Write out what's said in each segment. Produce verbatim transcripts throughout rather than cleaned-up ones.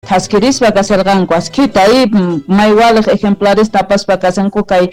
Thaskirispa kasharqanku askhita y may waliq ejemplares apaspa kashanku kay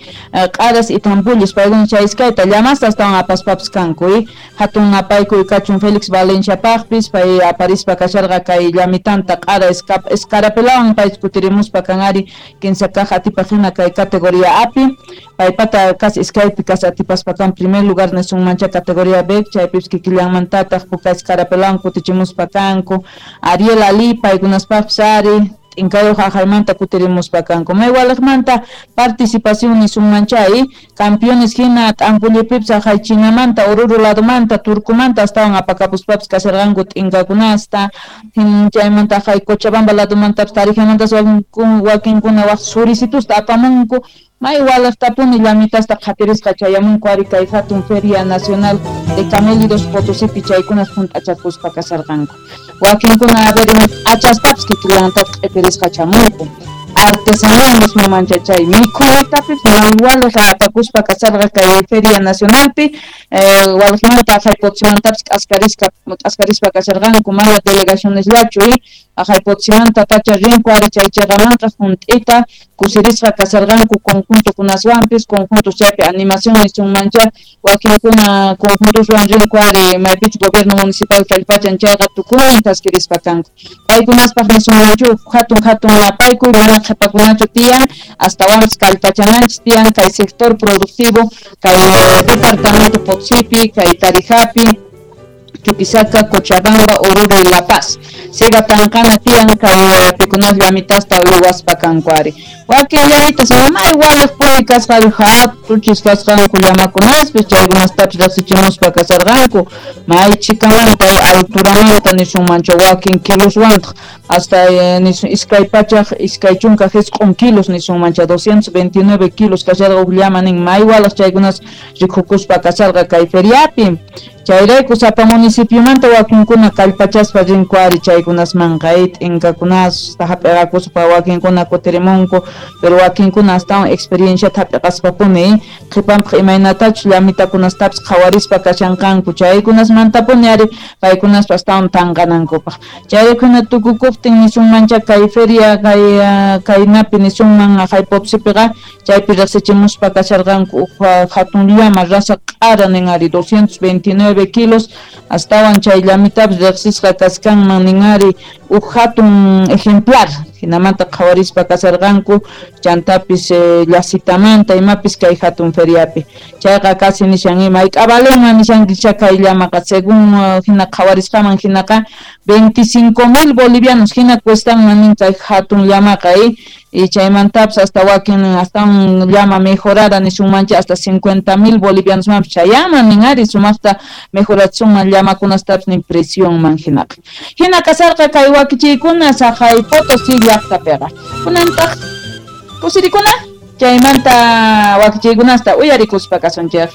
q'aras y tampullis paykuna chay iskayta llamasta astawan apaspapis kanku y hatun napaykuy kachun Félix Valenciapaqpis pay aparispa kasharqa kay llamitanta q'ara escarapelawan pay kutirimuspa kan ari kinsa kaq atipaq hina kay categoría api paypata kas iskaypi kas atipaspa kan primer lugar nisunmancha categoría B chaypipis kikillanmantataq puka escarapelawan kutichimuspa kanku Ariel Ali paykunaspaqpis ari t'inkayuq aqhaymanta kutirimuspa kanku may waliqmanta participación nisunmancha y campeones hina t'ampullipipis aqhay Chinamanta Oruro ladomanta Turcumanta astawan apakapuspapis kasharqanku t'inkakunasta chaymanta aqhay Cochabamba ladomantapis Tarijamantas wakinkuna waq surisitusta apamunku may waliqtapuni llamitasta qhatirisqa chayamunku ari kay hatun Feria Nacional de Camélidos Potosipi chaykunas hunt'achakuspa kasharqanku wakinkuna a ver achaspapis kikillantataq q'ipirisqa chamunku artesanía nismanmancha chay mikhuytapis may waliq apakuspa kasharqa kay Feria Nacionalpi waliqmanta aqhay Potosimantapis k'askarisqa k'askarispa kasharqanku mana delegacionesllachu y aqhay Potosimanta pacha rinku ari chay chiqamanqa hunt'ita kusirisqa kasharqanku conjuntokunaswanpis conjuntos chaypi animación nisunmancha wakinkuna conjuntoswan rinku ari maypichu gobierno municipal kallpachan chayqa tukuynin thaskirispa kanku paykunaspaq nisunmanchu hatun hatun napaykuy mana qhipakunachu tiyan astawanpis kallpachananchis tiyan kay sector productivo kay departamento Potosipi kay Tarijapi Chuquisaca, Cochabamba, Oruro y La Paz. Siga tanqana tiyan kay pikunas llamitasta uywaspa kanku ari. Wakin llamitas may waliqpuni kasqa hatuchis kasqanku llamakunaspis chaykunastapis riqsichimuspa kasharqanku may chikamanta alturamanta nisunmancha wakin kiloswantaq hasta nisun iskay pachaq iskay chunka jisq'un kilos nisunmancha doscientos veintinueve kilos kasharqa uj llama nin may waliq chaykunas rikukuspa kasharqa kay feriapi. Chayrayku sapa municipiomanta wakinkuna kallpachaspa rinku ari chaykunasmanqa t'inkakunasta hap'iqakuspa wakinkuna kutirimunku pero wakinkuna astawan experienciata hap'iqaspapuni qhipanpaq imaynatachus llamitakunastapis qhawarispa kashanqanku chaykunasmantapuni ari paykunaspa astawan tanqanankupaq chayraykuna tukukuptin nisunmancha kay feria kay kaynapi nisunman aqhay Potosipiqa chaypi riqsichimuspa kasharqanku uj hatun llama raza q'ara nin ari doscientos veintinueve kilos astawan chay llamitapis riqsisqa kaskanman nin ari uj hatun ejemplar hinamanta qhawarispa kasharqanku chantapis llasitamanta imapis kay hatun feriapi chayqa casi nishan ima mayk'avalenman nishankicha kay llamaqa según hina qhawarisqaman hinaqa veinticinco mil bolivianos hina cuestanman nin kay hatun llamaqa y chaymantapis hasta wakin hasta un llama mejorada nisunmancha hasta cincuenta mil bolivianos manpis chayaman nin ari sumaqta mejoratsunman llamakunastapis nin presionman hinaqa hina kasarqa kay wakichiykuna saqay Potosí llaqtapiqa kunantaq kusirikuna chaymanta wakichiykunasta uyarikuspa kasunchik.